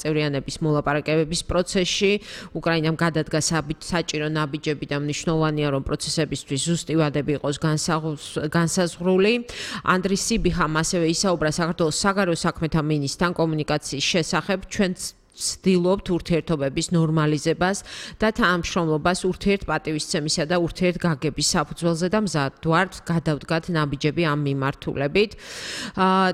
წევრიანების მოლაპარაკებების პროცესში. უკრაინამ გადადგა საჭირო ნაბიჯები და მნიშვნელოვანია, რომ პროცესებისთვის ზუსტი ვადები იყოს განსაზღვრული. ანდრი სიბიხამ ასევე ისაუბრა საქართველოს საგარეო საქმეთა მინისტრთან კომუნიკაციის შესახებ. ჩვენ ვცდილობთ ურთიერთობების ნორმალიზებას და თანამშრომლობას ურთიერთპატივისცემისა და ურთიერთგაგების საფუძველზე და მზად ვართ გადავდგათ ნაბიჯები ამ მიმართულებით.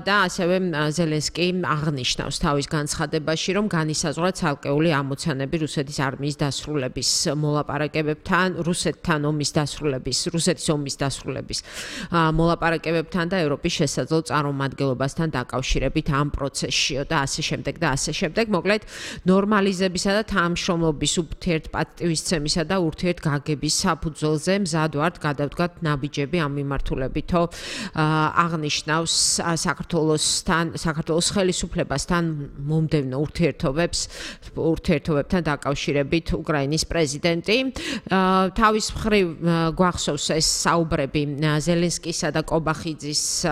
და ასევე ზელენსკი აღნიშნავს თავის განცხადებაში, რომ განისაზღვრა ცალკეული ამოცანები რუსეთის არმიის დასრულების მოლაპარაკებებთან, რუსეთის ომის დასრულების მოლაპარაკებებთან და ევროპის შესაძლო წარმომადგენლობასთან დაკავშირებით ამ პროცესშიო და ასე შემდეგ და ასე შემდეგ. მოკლედ ნორმალიზებისა და თანამშრომლობის ურთიერთპატივისცემისა და ურთიერთგაგების საფუძველზე მზად ვართ გადავდგათ ნაბიჯები ამ მიმართულებითო აღნიშნავს საქართველოს ხელისუფლებასთან მომდევნო ურთიერთობებთან დაკავშირებით უკრაინის პრეზიდენტი. თავის მხრივ გვახსოვს ეს საუბრები ზელენსკისა და კობახიძის,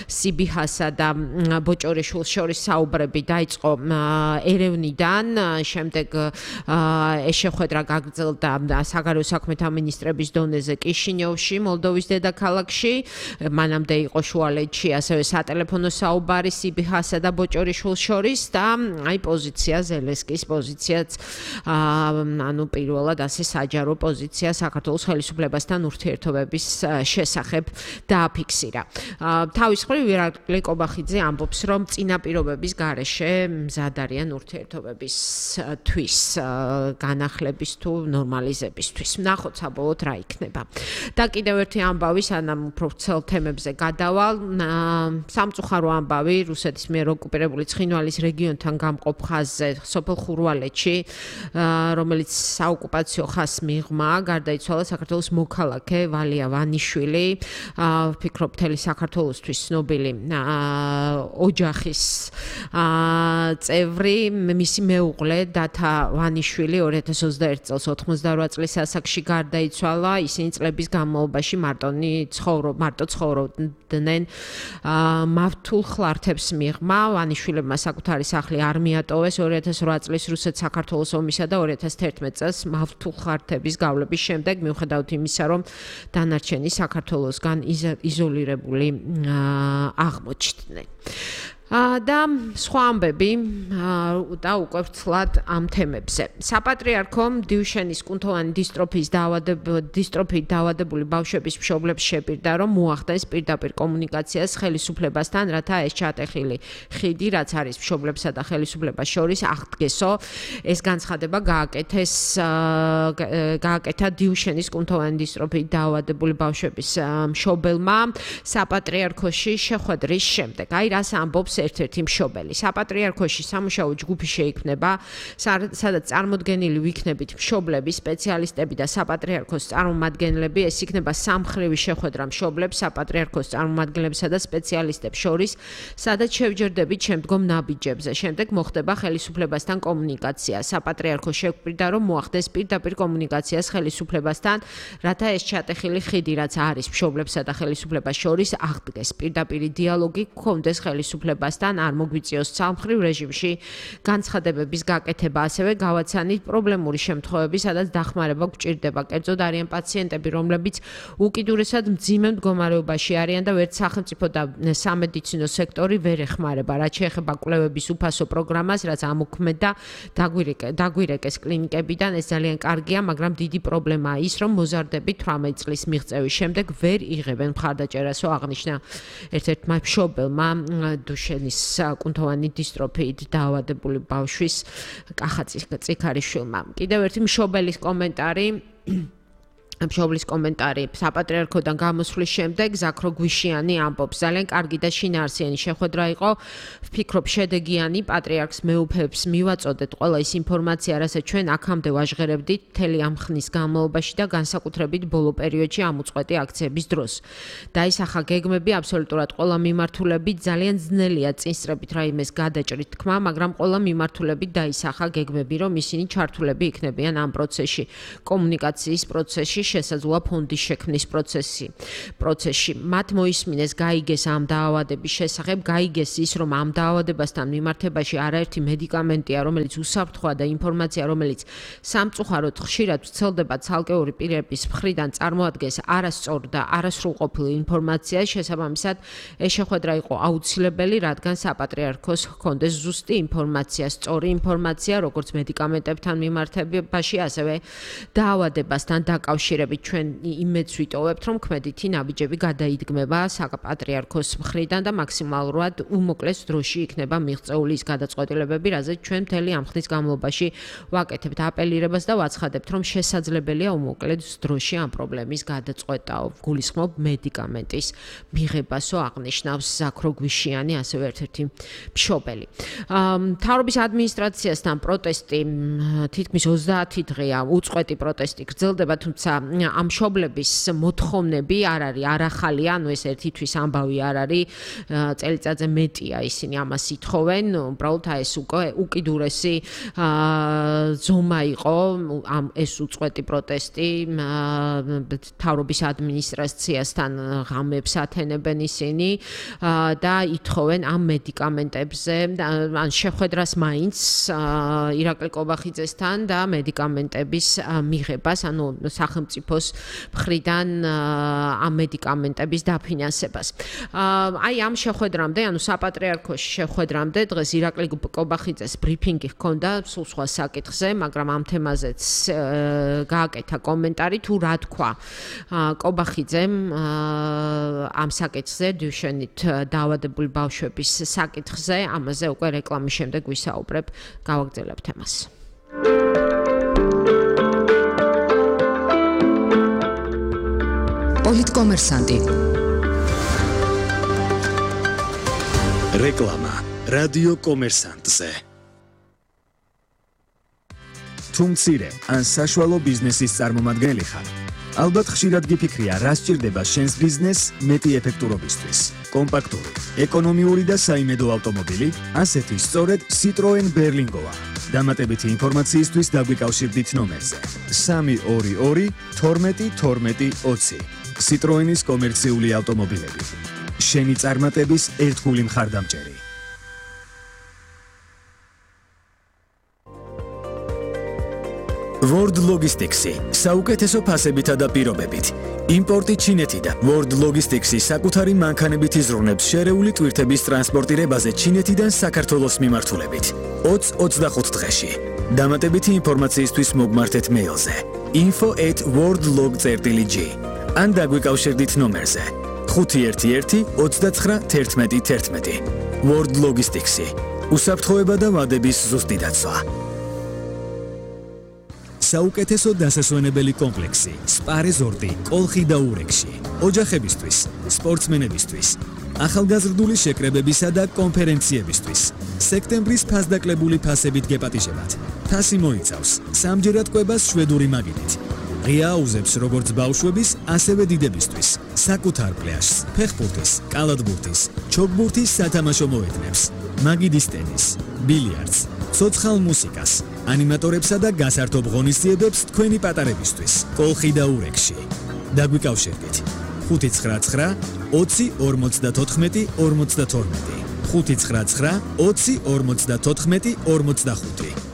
სიბიჰასა და ბოჭორიშვილის შორის საუბრები დაიწყო ერევნიდან, შემდეგ ეს შეხვედრა გაგრძელდა საგარეო საქმეთა მინისტრების დონეზე კიშინიოვში, მოლდოვის დედაქალაქში. მანამდე იყო შუალედში ასევე სატელეფონო საუბარი სიბიჰასა და ბოჭორიშვილის შორის და პოზიცია ზელენსკის პოზიციაც პირველად ასე საჯარო პოზიცია საქართველოს ხელისუფლებასთან ურთიერთობების შესახებ დააფიქსირა. თავის მხრივ ირაკლი კობახიძე ამბობს, რომ წინაპირობების გარეშე მზად არიან ურთიერთობებისთვის განახლების თუ ნორმალიზებისთვის. ვნახოთ საბოლოოდ რა იქნება. და კიდევ ერთი ამბავი, სანამ უფრო ვრცელ თემებზე გადავალ, სამწუხარო ამბავი რუსეთის მიერ ოკუპირებული ცხინვალის რეგიონთან გამყოფ ხაზზე სოფელ ხურვალეთში, რომელიც საოკუპაციო ხაზს მიღმა, გარდაიცვალა საქართველოს მოქალაქე ვალია ვანიშვილი, ვფიქრობ მთელი საქართველოსთვის ცნობილი ოჯახის წევრი, მისი მეუღლე დათა ვანიშვილი 2021 წელს 88 წლის ასაკში გარდაიცვალა. ისინი წლების განმავლობაში მარტო ცხოვრობდნენ. მავთულ ხლართებს მიღმა, ვანიშვილებმა საკუთარი სახლი არ მიატოვეს 2008 წლის რუსეთ-საქართველოს ომისა და 2011 წელს მავთულ ხლართების გავლების შემდეგ, მიუხედავად იმისა, რომ დანარჩენი საქართველოსგან იზოლირებული აღმოჩნდნენ. და სხვა ამბები და უკვე ვრცლად ამ თემებზე. საპატრიარქო დიუშენის კუნთოვანი დისტროფიით დაავადებული ბავშვების მშობლებს შეპირდა, რომ მოახდენს პირდაპირ კომუნიკაციას ხელისუფლებასთან, რათა ეს ჩატეხილი ხიდი, რაც არის მშობლებსა და ხელისუფლებას შორის, აღდგესო. ეს განცხადება გააკეთა დიუშენის კუნთოვანი დისტროფიით დაავადებული ბავშვების მშობელმა საპატრიარქოში შეხვედრის შემდეგ. რას ამბობს ერთ-ერთი მშობელი. საპატრიარქოში სამუშაო ჯგუფი შეიქმნება, სადაც წარმოდგენილი ვიქნებით მშობლები, სპეციალისტები და საპატრიარქოს წარმომადგენლები. ეს იქნება სამხრივი შეხვედრა მშობლებს, საპატრიარქოს წარმომადგენლებსა და სპეციალისტებს შორის, სადაც შევჯერდებით შემდგომ ნაბიჯებზე. შემდეგ მოხდება ხელისუფლებასთან კომუნიკაცია. საპატრიარქო შეგვპირდა, რომ მოახდეს პირდაპირ კომუნიკაციას ხელისუფლებასთან, რათა ეს ჩატეხილი ხიდი, რაც არის მშობლებსა და ხელისუფლებას შორის, აღდგეს. პირდაპირი დიალოგი გქონდეს ხელისუფლებასთან, არ მოგვიწიოს ცალმხრივ რეჟიმში განცხადებების გაკეთება. ასევე გავაცანით პრობლემური შემთხვევები, სადაც დახმარება გვჭირდება. კერძოდ არიან პაციენტები, რომლებიც უკიდურესად მძიმე მდგომარეობაში არიან და ვერც სახელმწიფო და სამედიცინო სექტორი ვერ ეხმარება. რაც შეეხება კვლევების უფასო პროგრამას, რაც ამოქმედა დაგვირეკეს კლინიკებიდან, ეს ძალიან კარგია, მაგრამ დიდი პრობლემაა ის, რომ მოზარდები 18 წლის მიღწევის შემდეგ ვერ იღებენ მხარდაჭერასო, აღნიშნა ერთ-ერთმა მშობელმა დუშენის კუნთოვანი დისტროფიით დაავადებული ბავშვის კახა წიქარიშვილმა. კიდევ ერთი მშობელის კომენტარი. მშობლის კომენტარი საპატრიარქოდან გამოსვლის შემდეგ ზაქრო გვიშიანი ამბობს, ძალიან კარგი და შინაარსიანი შეხვედრა იყო. ვფიქრობ შედეგიანი, პატრიარქს მეუფეებს მივაწოდეთ ყველა ის ინფორმაცია, რასაც ჩვენ აქამდე ვაჟღერებდით მთელი ამ ხნის განმავლობაში და განსაკუთრებით ბოლო პერიოდში ამ უწყვეტი აქციების დროს. დაისახა გეგმები აბსოლუტურად ყველა მიმართულებით, ძალიან ძნელია წინსწრებით რაიმეს გადაჭრით თქმა, მაგრამ ყველა მიმართულებით დაისახა გეგმები, რომ ისინი ჩართულები იქნებიან ამ პროცესში, კომუნიკაციის პროცესში. შესაძლოა ფონდის შექმნის პროცესში. მათ მოისმინეს გაიგეს ამ დაავადების შესახებ, გაიგეს ის, რომ ამ დაავადებასთან მიმართებაში არაერთი მედიკამენტია, რომელიც უსაფრთხოა და ინფორმაცია, რომელიც სამწუხაროდ ხშირად ვრცელდება ცალკეული პირების მხრიდან წარმოადგენს არასწორ და არასრულყოფილ ინფორმაციას, შესაბამისად ეს შეხვედრა იყო აუცილებელი, რადგან საპატრიარქოს ჰქონდეს ზუსტი ინფორმაცია, სწორი ინფორმაცია, როგორც მედიკამენტებთან მიმართებაში, ასევე დაავადებასთან დაკავშირებით. ჩვენ იმედს ვიტოვებთ, რომ ქმედითი ნაბიჯები გადაიდგმება საპატრიარქოს მხრიდან და მაქსიმალურად უმოკლეს დროში იქნება მიღწეული ის გადაწყვეტილებები, რაზეც ჩვენ მთელი ამ ხნის განმავლობაში ვაკეთებთ აპელირებას და ვაცხადებთ, რომ შესაძლებელია უმოკლეს დროში ამ პრობლემის გადაწყვეტაო. გულისხმობ მედიკამენტის მიღებასო აღნიშნავს ზაქრო გვიშიანი, ასევე ერთ-ერთი მშობელი. მთავრობის ადმინისტრაციასთან პროტესტი თითქმის 30 დღეა უწყვეტი პროტესტი გრძელდება, თუმცა ამ მშობლების მოთხოვნები არ არის არახალია, ანუ ეს ერთი თვის ამბავი არ არის, წელიწადზე მეტია ისინი ამას ითხოვენ, უბრალოდ ეს უკვე უკიდურესი ზომა იყო ეს უწყვეტი პროტესტი მთავრობის ადმინისტრაციასთან ღამებს ათენებენ ისინი და ითხოვენ ამ მედიკამენტებზე ან შეხვედრას მაინც ირაკლი კობახიძესთან და მედიკამენტების მიღებას, ანუ სახელმწიფოს მხრიდან ამ მედიკამენტების დაფინანსებას. აი ამ შეხვედრამდე, ანუ საპატრიარქოში შეხვედრამდე დღეს ირაკლი კობახიძეს ბრიფინგი ჰქონდა სულ სხვა საკითხზე, მაგრამ ამ თემაზეც გააკეთა კომენტარი, თუ რა თქვა კობახიძემ ამ საკითხზე, დუშენით დაავადებული ბავშვების საკითხზე, ამაზე უკვე რეკლამის შემდეგ ვისაუბრებ, გავაგრძელებთ თემას. პოლიტკომერსანტი. რეკლამა რადიო კომერსანტზე. თუ მცირე ან საშუალო ბიზნესის წარმომადგენელი ხარ, ალბათ ხშირად გიფიქრია, რა სჭირდება შენს ბიზნესს მეტი ეფექტურობისთვის. კომპაქტური, ეკონომიური და საიმედო ავტომობილი, ასეთი სწორედ Citroen Berlingoა. დამატებითი ინფორმაციისთვის დაგვიკავშირდით ნომერზე 322 12 12 20. Citroenis კომერციული ავტომობილები. შენი წარმატების ერთგული მხარდამჭერი. World Logistics-ი საუკეთესო ფასებითა და პირობებით. იმპორტი ჩინეთიდან. World Logistics-ი საკუთარი მანქანებით იზრუნებს შერეული ტვირთების ტრანსპორტირებაზე ჩინეთიდან საქართველოს მიმართულებით. 20-25 დღეში. დამატებითი ინფორმაციისთვის მოგმართეთ მეილზე info@worldlog.gr ან დაგვიკავშირდით ნომერზე 511 29 11 11. World Logistics-ი უსაფრთხოება და ვადების ზუსტი დაცვა. საუკეთესო დასასვენებელი კომპლექსი სპა რეზორტი კოლხი და ურეკში. ოჯახებისთვის, სპორტსმენებისთვის, ახალგაზრდული შეკრებებისა და კონფერენციებისთვის. სექტემბრის ფასდაკლებული ფასებით გეპატიჟებათ. ფასი მოიცავს სამჯერად კვებას შვედური მაგიდით. ღია აუზებს როგორც ბავშვების, ასევე დიდებისთვის. საკუთარ პლაჟს, ფეხბურთის, კალათბურთის, ჩოგბურთის სათამაშო მოედნებს, მაგიდის ტენის, ბილიარდს, ცოცხალ მუსიკას, ანიმატორებსა და გასართობ ღონისძიებებს თქვენი პატარებისთვის. კოლხი და ურეკში. დაგვიკავშირდით 599 20 54 52 599 20 54 45.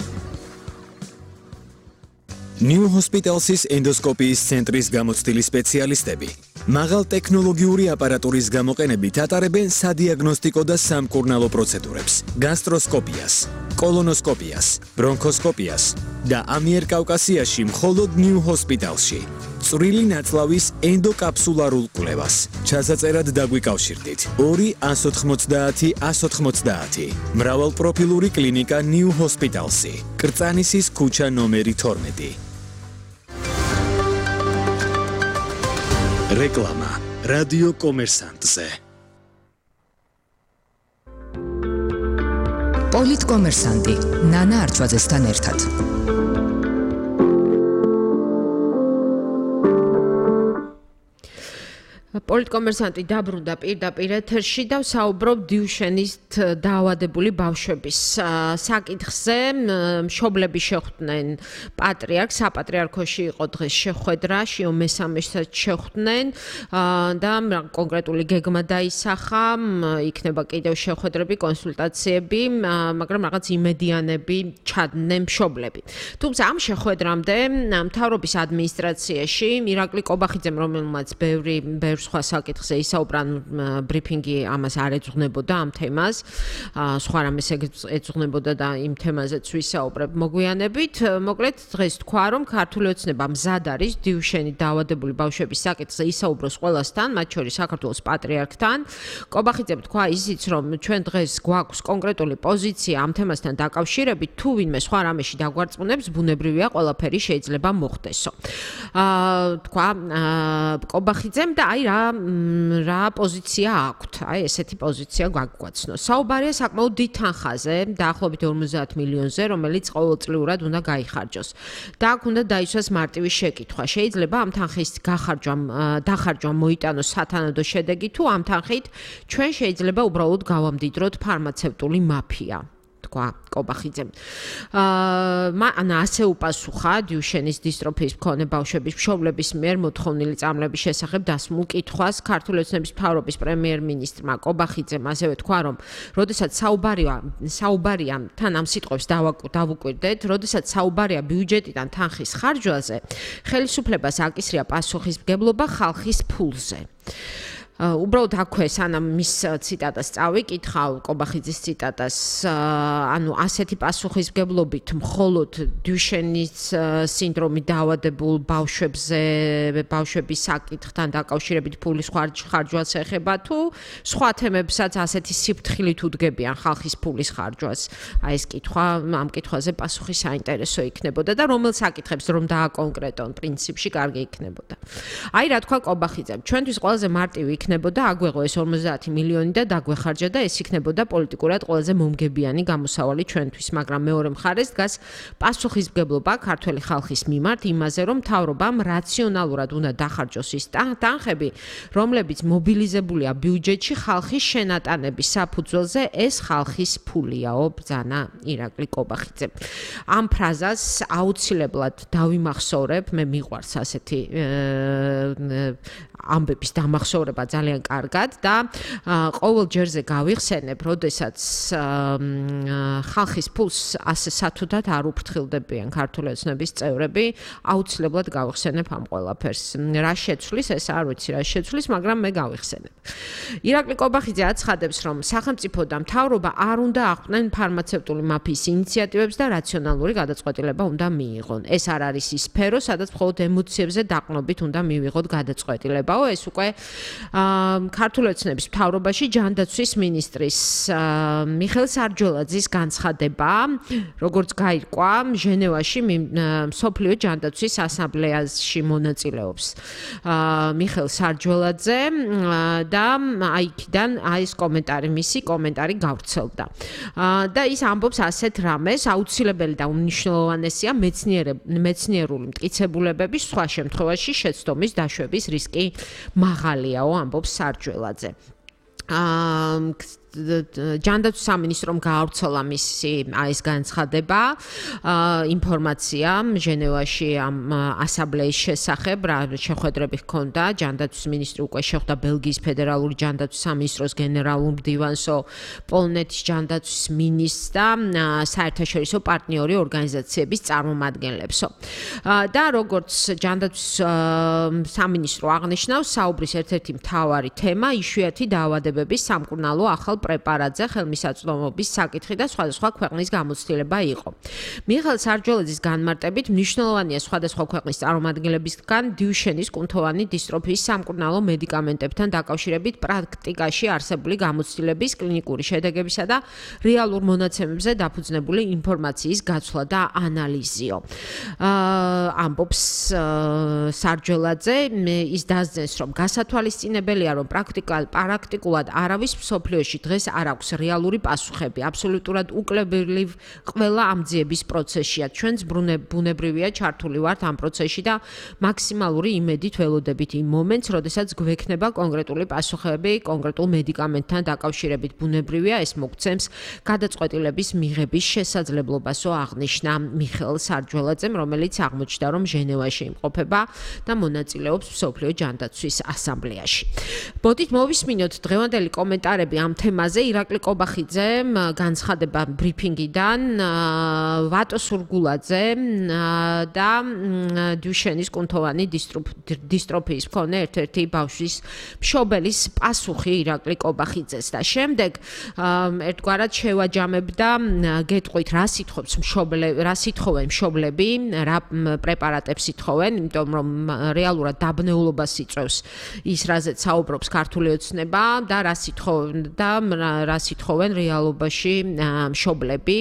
New Hospitals-ის ენდოსკოპიის ცენტრის გამოცდილი სპეციალისტები მაღალ ტექნოლოგიური აპარატურის გამოყენებით ატარებენ სადიაგნოსტიკო და სამკურნალო პროცედურებს, გასტროსკოპიას, კოლონოსკოპიას, ბრონქოსკოპიას და ამიერკავკასიაში მხოლოდ New Hospital-ში. წვრილი ნაწლავის ენდოკაფსულარულ კვლევას. ჩასაწერად დაგვიკავშირდით 2 190 190. მრავალპროფილური კლინიკა New Hospitals-ი. კრწანისის ქუჩა ნომერი 12. რეკლამა რადიო კომერსანტზე. პოლიტკომერსანტი ნანა არჩვაძესთან ერთად. პოლიტკომერსანტი დაბრუნდა პირდაპირ ეთერში და საუბრობ დიუშენის დაავადებული ბავშვების საკითხზე. მშობლები შეხვდნენ პატრიარქს, საპატრიარქოში იყო დღეს შეხვედრა, შიო მესამესაც შეხვდნენ და კონკრეტული გეგმა დაისახა, იქნება კიდევ შეხვედრები, კონსულტაციები, მაგრამ რაღაც იმედიანები ჩადნენ მშობლები. თუმცა ამ შეხვედრამდე მთავრობის ადმინისტრაციაში ირაკლი კობახიძემ, რომელმაც ბევრი სხვა საკითხზე ისაუბრა, ბრიფინგი ამას არ ეძღვნებოდა ამ თემას, სხვა რამეს ეძღვნებოდა და იმ თემაზეც ვისაუბრებ მოგვიანებით. მოკლედ დღეს თქვა, რომ ქართული ოცნება მზად არის დიუშენი დაავადებული ბავშვების საკითხზე ისაუბროს ყველასთან, მათ შორის საქართველოს პატრიარქთან. კობახიძემ თქვა ისიც, რომ ჩვენ დღეს გვაქვს კონკრეტული პოზიცია ამ თემასთან დაკავშირებით, თუ ვინმე სხვა რამეში დაგვარწმუნებს, ბუნებრივია, ყველაფერი შეიძლება მოხდესო. თქვა კობახიძემ და აი რა პოზიცია აქვთ. აი ესეთი პოზიცია გაგვაცნო. საუბარია საკმაოდ დიდ თანხაზე, დაახლოებით 50 მილიონზე, რომელიც ყოველწლიურად უნდა გაიხარჯოს. და აქ უნდა დაისვას მარტივი შეკითხვა. შეიძლება ამ თანხის დახარჯვა მოიტანოს სათანადო შედეგი, თუ ამ თანხით ჩვენ შეიძლება უბრალოდ გავამდიდროთ ფარმაცევტული მაფია. კობახიძემ. ასე უპასუხა დიუშენის დისტროფიის მქონე ბავშვების მშობლების მიერ მოთხოვნილი წამლების შესახებ დასმულ კითხვას ქართული ოცნების მთავრობის პრემიერ-მინისტრმა კობახიძემ ასევე თქვა, რომ როდესაც საუბარია თან ამ სიტყვებს დავუკვირდეთ, როდესაც საუბარია ბიუჯეტიდან თანხის ხარჯვაზე, ხელისუფლებას აკისრია პასუხისმგებლობა ხალხის ფულზე. უბრალოდ აქვე სანამ მის ციტატას წავიკითხავ, კობახიძის ციტატას, ანუ ასეთი პასუხისმგებლობით მხოლოდ დიუშენის სინდრომით დაავადებულ ბავშვების საკითხთან დაკავშირებით ფულის ხარჯვას ეხება, თუ სხვა თემებსაც ასეთი სიფრთხილით უდგებიან ხალხის ფულის ხარჯვას. აი ეს კითხვა, ამ კითხვაზე პასუხი საინტერესო იქნებოდა და რომელ საკითხებს რომ დააკონკრეტონ, პრინციპში კარგი იქნებოდა. აი რა თქვა კობახიძემ, ჩვენთვის ყველაზე მარტივი იქნებოდა აგვეღო ეს 50 მილიონი და დაგვეხარჯა და ეს იქნებოდა პოლიტიკურად ყველაზე მომგებიანი გამოსავალი ჩვენთვის, მაგრამ მეორე მხარეს დგას პასუხისმგებლობა ქართველი ხალხის მიმართ იმაზე, რომ მთავრობამ რაციონალურად უნდა დახარჯოს ის თანხები, რომლებიც მობილიზებულია ბიუჯეტში ხალხის შენატანების საფუძველზე, ეს ხალხის ფულიაო, ბრძანა ირაკლი კობახიძე. ამ ფრაზას აუცილებლად დავიმახსოვრებ, მე მიყვარს ასეთი ამბების დამახსოვრება ძალიან კარგად და ყოველ ჯერზე გავიხსენებ, როდესაც ხალხის ფულს ასე სათუდად არ უფრთხილდებიან ქართული ოცნების წევრები, აუცილებლად გავიხსენებ ამ ყველაფერს. რა შეცვლის, ეს არ ვიცი რა შეცვლის, მაგრამ მე გავიხსენებ. ირაკლი კობახიძე აცხადებს, რომ სახელმწიფო და მთავრობა არ უნდა ახვდნენ ფარმაცევტული მაფიის ინიციატივებს და რაციონალური გადაწყვეტილება უნდა მიიღონ. ეს არ არის ის სფერო, სადაც მხოლოდ ემოციებზე დაყრდნობით უნდა მივიღოთ გადაწყვეტილება. ეს უკვე ქართული ოცნების მთავრობაში ჯანდაცვის მინისტრის მიხეილ სარჯველაძის განცხადება, როგორც გაირკვა, ჟენევაში მსოფლიო ჯანდაცვის ასამბლეაში მონაწილეობს მიხეილ სარჯველაძე და აიქიდან ეს მისი კომენტარი გავრცელდა. და ის ამბობს ასეთ რამეს, აუცილებელი და უმნიშვნელოვანესია მეცნიერული მტკიცებულებების სხვა შემთხვევაში შეცდომის დაშვების რისკი მაღალიაო, ამბობს სარჯველაძე. ჯანდაცვის სამინისტრომ გაავრცელა მისი ეს განცხადება, ინფორმაცია ჟენევაში ამ ასამბლეის შესახებ, რა შეხვედრები ჰქონდა, ჯანდაცვის მინისტრი უკვე შეხვდა ბელგიის ფედერალური ჯანდაცვის სამინისტროს გენერალურ მდივანსო, პოლონეთის ჯანდაცვის მინისტრს და საერთაშორისო პარტნიორი ორგანიზაციების წარმომადგენლებსო. და როგორც ჯანდაცვის სამინისტრო აღნიშნავს, საუბრის ერთ-ერთი მთავარი თემა იშვიათი დაავადებების სამკურნალო ახალ პრეპარატზე ხელმისაწვდომობის საკითხი და სხვადასხვა ქვეყნის გამოცდილება იყო. მიხეილ სარჯველაძის განმარტებით მნიშვნელოვანია სხვადასხვა ქვეყნის წარმომადგენლებისგან დიუშენის კუნთოვანი დისტროფიის სამკურნალო მედიკამენტებთან დაკავშირებით პრაქტიკაში არსებული გამოცდილების, კლინიკური შედეგებისა და რეალურ მონაცემებზე დაფუძნებული ინფორმაციის გაცვლა და ანალიზიო. ამბობს სარჯველაძე, ის დასძენს, რომ გასათვალისწინებელია, რომ პრაქტიკულად არავის მსოფლიოში დღეს არ აქვს რეალური პასუხები. აბსოლუტურად უკლებელი ყველა ამ ძიების პროცესშია. ჩვენც ბუნებრივია ჩართული ვართ ამ პროცესში და მაქსიმალური იმედით ველოდებით იმ მომენტს, როდესაც გვექნება კონკრეტული პასუხები კონკრეტულ მედიკამენტთან დაკავშირებით. ბუნებრივია ეს მოგცემს გადაწყვეტილების მიღების შესაძლებლობასო აღნიშნა მიხეილ სარჯველაძემ, რომელიც აღმოჩნდა, რომ ჟენევაში იმყოფება და მონაწილეობს მსოფლიო ჯანდაცვის ასამბლეაში. ბოდით მოვისმინოთ დღევანდელი კომენტარები ამ თემაზე. ირაკლი კობახიძემ განცხადება ბრიფინგიდან, ვატო სურგულაძე და დუშენის კუნთოვანი დისტროფიის მქონე ერთ-ერთი ბავშვის მშობელის პასუხი ირაკლი კობახიძეს და შემდეგ ერთგვარად შევაჯამებდა გეტყვით რა სიტყვენ მშობლები, რა პრეპარატებს ითხოვენ, იმიტომ რომ რეალურად დაბნეულობას იწვევს ის რაზეც საუბრობს ქართული ოცნება და რა სიტყვენ რეალობაში მშობლები.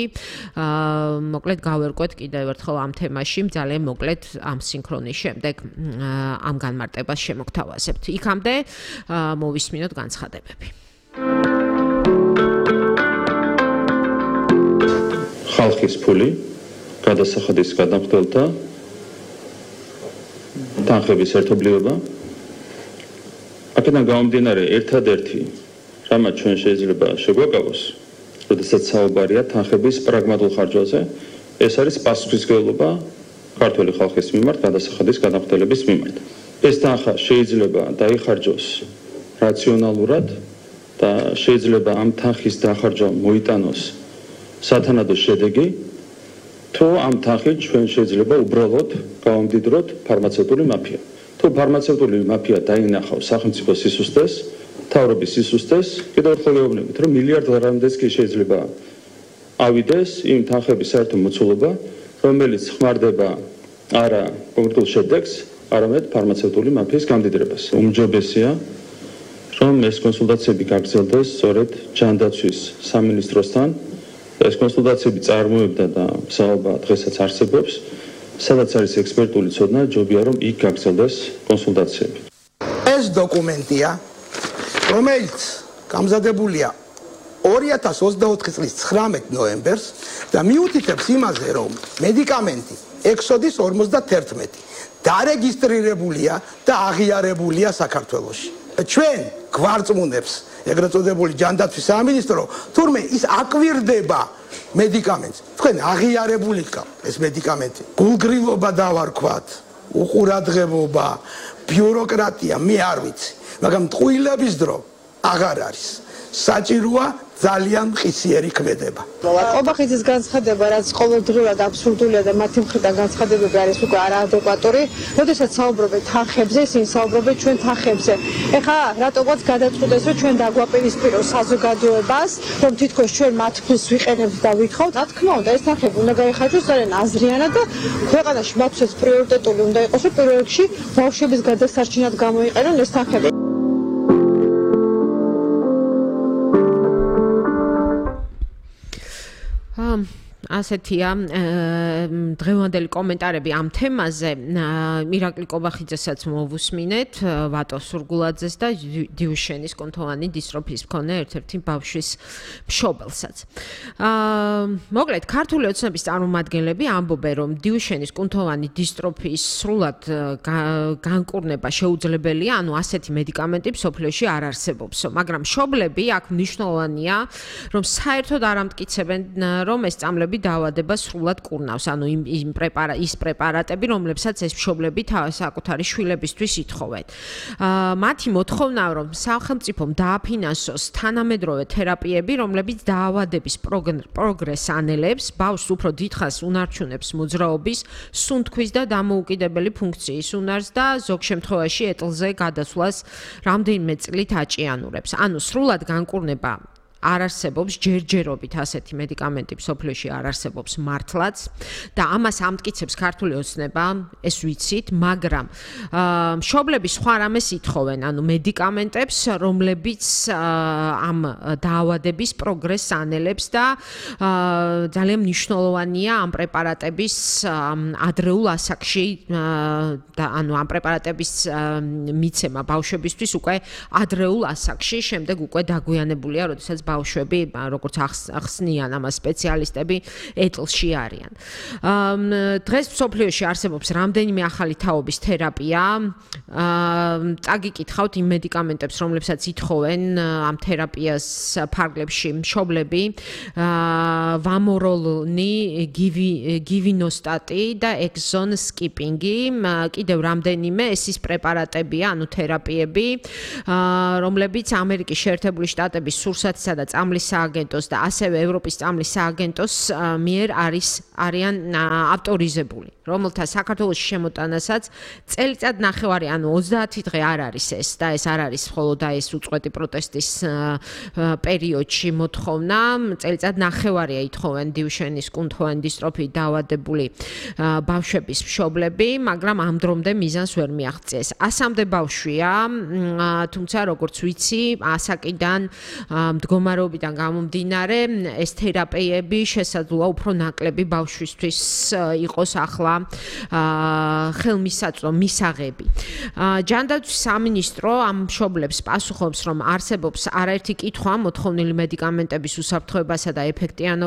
მოკლედ გავერკვეთ კიდევ ერთხელ ამ თემაში, ძალიან მოკლედ ამ სინქრონის შემდეგ ამ განმარტებას შემოგთავაზებთ. იქამდე მოვისმინოთ განცხადებები. ხალხის ფული გადასახადის გადამხდელთა თანხების ერთობლიობა. აქედან გამომდინარე ერთადერთი რამაც ჩვენ შეიძლება შეგვაკავოს, როდესაც საუბარია თანხების პრაგმატულ ხარჯვაზე, ეს არის პასუხისმგებლობა ქართული ხალხის მიმართ გადასახადის გადამხდელების მიმართ. ეს თანხა შეიძლება დაიხარჯოს რაციონალურად და შეიძლება ამ თანხის დახარჯვა მოიტანოს სათანადო შედეგი, თუ ამ თანხით ჩვენ შეიძლება უბრალოდ გავამდიდროთ ფარმაცევტული მაფია. თუ ფარმაცევტული მაფია დაინახავს სახელმწიფო სისუსტეს, მთავრობის სისუსტეს, კიდევ ერთხელ ვეუბნებით, რომ მილიარდამდეც კი შეიძლება ავიდეს იმ თანხების საერთო მოცულობა, რომელიც ხმარდება არა კონკრეტულ შედეგს, არამედ ფარმაცევტული მაფიის გამდიდრებას. უმჯობესია, რომ ეს კონსულტაციები გაგრძელდეს სწორედ ჯანდაცვის სამინისტროსთან. ეს კონსულტაციები წარმოებდა და მსაობა დღესაც არსებობს, სადაც არის ექსპერტული ცოდნა, ჯობია რომ იქ გაგრძელდეს კონსულტაციები. ეს დოკუმენტია, რომელიც გამზადებულია 2024 წლის 19 ნოემბერს და მიუთითებს იმაზე, რომ მედიკამენტი ექსოდის 51 დარეგისტრირებულია და აღიარებულია საქართველოში. ჩვენ გვარწმუნებს ეგრეთ წოდებული ჯანდაცვის სამინისტრო, თურმე ის აკვირდება მედიკამენტს. თქვენ აღიარებული გყავთ ეს მედიკამენტი. გულგრილობა დავარქვათ, უყურადღებობა, ბიუროკრატია, მე არ ვიცი, მაგრამ ტყუილების დრო აღარ არის. საჭიროა ძალიან მყისიერი ქმედება. კობახიძის განცხადება, რაც ყოველდღიურად აბსურდულია და მათი მხრიდან განცხადებები არის უკვე არაადეკვატური, როდესაც საუბრობენ თანხებზე, ისინი საუბრობენ ჩვენ თანხებზე. ეხლა რატოღაც გადაწყვეტეს, რომ ჩვენ დაგვაპირისპიროს საზოგადოებას, რომ თითქოს ჩვენ მათ ფულს ვიყენებთ და ვითხოვთ. რა თქმა უნდა, ეს თანხები უნდა გაიხარჯოს ძალიან აზრიანად და ქვეყანაში მათთვის პრიორიტეტული უნდა იყოს, რომ პირველ რიგში ბავშვების გადასარჩენად გამოიყენონ ეს თანხები. ასეთია დღევანდელი კომენტარები ამ თემაზე. ირაკლი კობახიძესაც მოვუსმინეთ, ვატო სურგულაძეს და დიუშენის კუნთოვანი დისტროფიის მქონე ერთ-ერთი ბავშვის მშობელსაც. მოკლედ, ქართული ოცნების წარმომადგენლები ამბობენ, რომ დიუშენის კუნთოვანი დისტროფიის სრულად განკურნება შეუძლებელია, ანუ ასეთი მედიკამენტი მსოფლიოში არ არსებობს, მაგრამ მშობლები აქ მნიშვნელოვანია, რომ საერთოდ არ ამტკიცებენ, რომ ეს წამლები დაავადება სრულად კურნავს, ანუ ის პრეპარატები, რომლებსაც ეს მშობლები საკუთარი შვილებისთვის ითხოვენ. მათი მოთხოვნაა, რომ სახელმწიფომ დააფინანსოს თანამედროვე თერაპიები, რომლებიც დაავადების პროგრესს ანელებს, ბავშვს უფრო დიდხანს უნარჩუნებს მოძრაობის, სუნთქვის და დამოუკიდებელი ფუნქციის უნარს და ზოგ შემთხვევაში ეტლზე გადასვლას რამდენიმე წლით აჭიანურებს. ანუ სრულად განკურნება არ არსებობს ჯერჯერობით ასეთი მედიკამენტი მსოფლიოში არ არსებობს მართლაც და ამას ამტკიცებს ქართული ოცნება, ეს ვიცით, მაგრამ მშობლები სხვა რამეს ითხოვენ, ანუ მედიკამენტებს, რომლებიც ამ დაავადების პროგრესს ანელებს და ძალიან მნიშვნელოვანია ამ პრეპარატების ადრეულ ასაკში და ანუ ამ პრეპარატების მიცემა ბავშვებისთვის უკვე ადრეულ ასაკში, შემდეგ უკვე დაგვიანებულია, როდესაც ბავშვები, როგორც ახსნიან ამას სპეციალისტები, ეტლში არიან. დღეს მსოფლიოში არსებობს რამდენიმე ახალი თაობის თერაპია. წაგიკითხავთ იმ მედიკამენტებს, რომლებსაც ითხოვენ ამ თერაპიას ფარგლებში მშობლები, ვამოროლონი, გივინოსტატი და ექსონ სკიპინგი. კიდევ რამდენიმე ეს ის პრეპარატებია, ანუ თერაპიები, რომლებიც ამერიკის შეერთებული შტატების სურსათისა და წამლის სააგენტოს და ასევე ევროპის წამლის სააგენტოს მიერ არიან ავტორიზებული, რომელთა საქართველოში შემოტანასაც წელიწად ნახევარი, ანუ 30 დღე არ არის ეს და ეს არ არის მხოლოდ ეს უწყვეტი პროტესტის პერიოდში მოთხოვნა, წელიწად ნახევარია ითხოვენ დიუშენის კუნთოვანი დისტროფიით დაავადებული ბავშვების მშობლები, მაგრამ ამ დრომდე მიზანს ვერ მიაღწიეს. 100-მდე ბავშვია, თუმცა როგორც ვიცი, ასაკიდან მდგომარეობიდან გამომდინარე, ეს თერაპიები შესაძლოა უფრო ნაკლები ბავშვისთვის იყოს ახლა ხელმისაწვდო მისაღები. ჯანდაცვის სამინისტრო ამ მშობლებს პასუხობს, რომ არსებობს არაერთი კითხვა მოთხოვნილი მედიკამენტების უსაფრთხოებასა და ეფექტიანობაზე